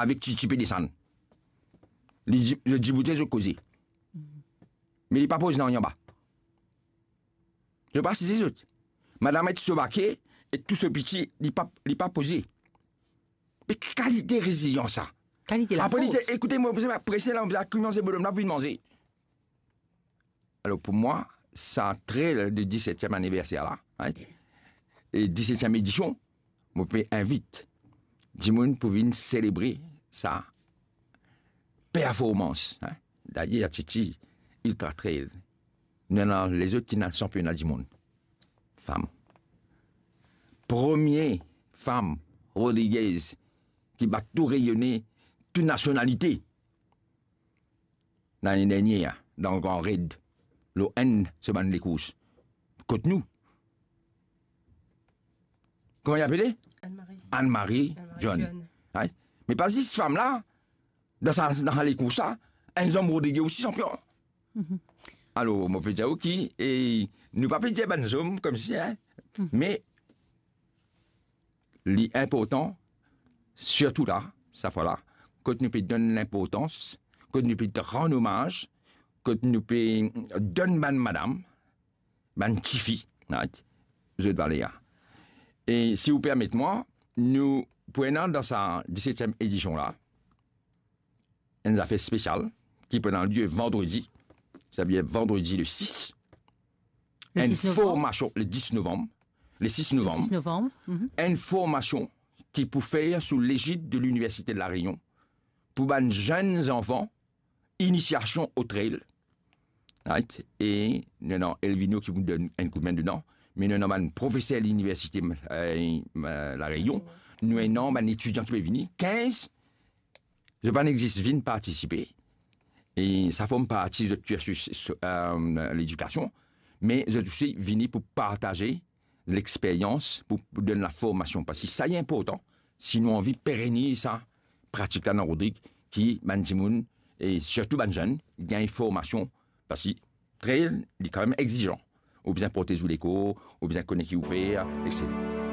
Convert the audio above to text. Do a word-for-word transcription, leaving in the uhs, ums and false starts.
avek Titi pe desann. Li di, zot diboute, zot koze. Me li pa poz nanye anba. Zot pa asize zot. Madam et so bake, e tou so piti, li pa, li pa poze. Me ki kalite rezilians sa? Kalite lafors. Apre li dir, ekoute, mo bizin prese la, mo bizin koumans bonnom la pou vinn manze. Alor, pou mwa, sa trail de disetyem aniverser la, hein, e disetyem edision, mo pe invit dimoun pou vinn selebre sa performans, hein. Dayer, Titi, Ultra Trail, nou ena lezot ki ena sanpiona dimonn, fam. Premie fam Rodriguez ki bat tou reyone, tou nasionalite. Lane dernie, dan Gran Red, lor enn so bann lekours. Kot nou. Kouma li apele? Anne-Marie. Anne-Marie John. Anne-Marie John. Right? Me pa zis fam la, dan sa, dan sa lekours la, enn zom Rodriguez osi sanpion. Alor, mo pe dir ou ki, e, nou pa pe dir bann zom koumsi, hein, me li inportan, sirtou la, sa fwa la, kot nou pe donn linportans, kot nou pe rann omaz, kot nou pe donn bann madam, bann tifi, right, zot valer. E si ou permet mwa, nou pou ena dan sa disetyem edision la, enn zafer spesial ki pou ena lie vandredi, sa vedir vandredi le sis, Le enn sis novanm. Formasion, le dis novanm, le sis Le novanm, sis novanm. Mhm. Enn formasion ki pou fer sou lezid de Liniversite de La Reynion pou bann zenn zanfan, inisiasion o trail. Right? E nou ena Elvino ki pou donn enn koudme dedan, me nou ena bann profeser liniversite, eh, eh, La Reynion, nou ena bann etidian ki pe vini, kinz, zot pa nek zis vinn partisipe, e sa form parti zot kirsis, eh, ledikasion, me zot osi vini pou partaze lexperyans, pou, pou donn laformasion, parski sa li inportan, si nou anvi pereniz sa pratik la dan Rodrig, ki bann dimoun, e sirtou bann zenn, gagn formasion, parski trail, li kanmem exizan. Ou bizin protez ou lekor, ou bizin kone ki ou fer, etsetera.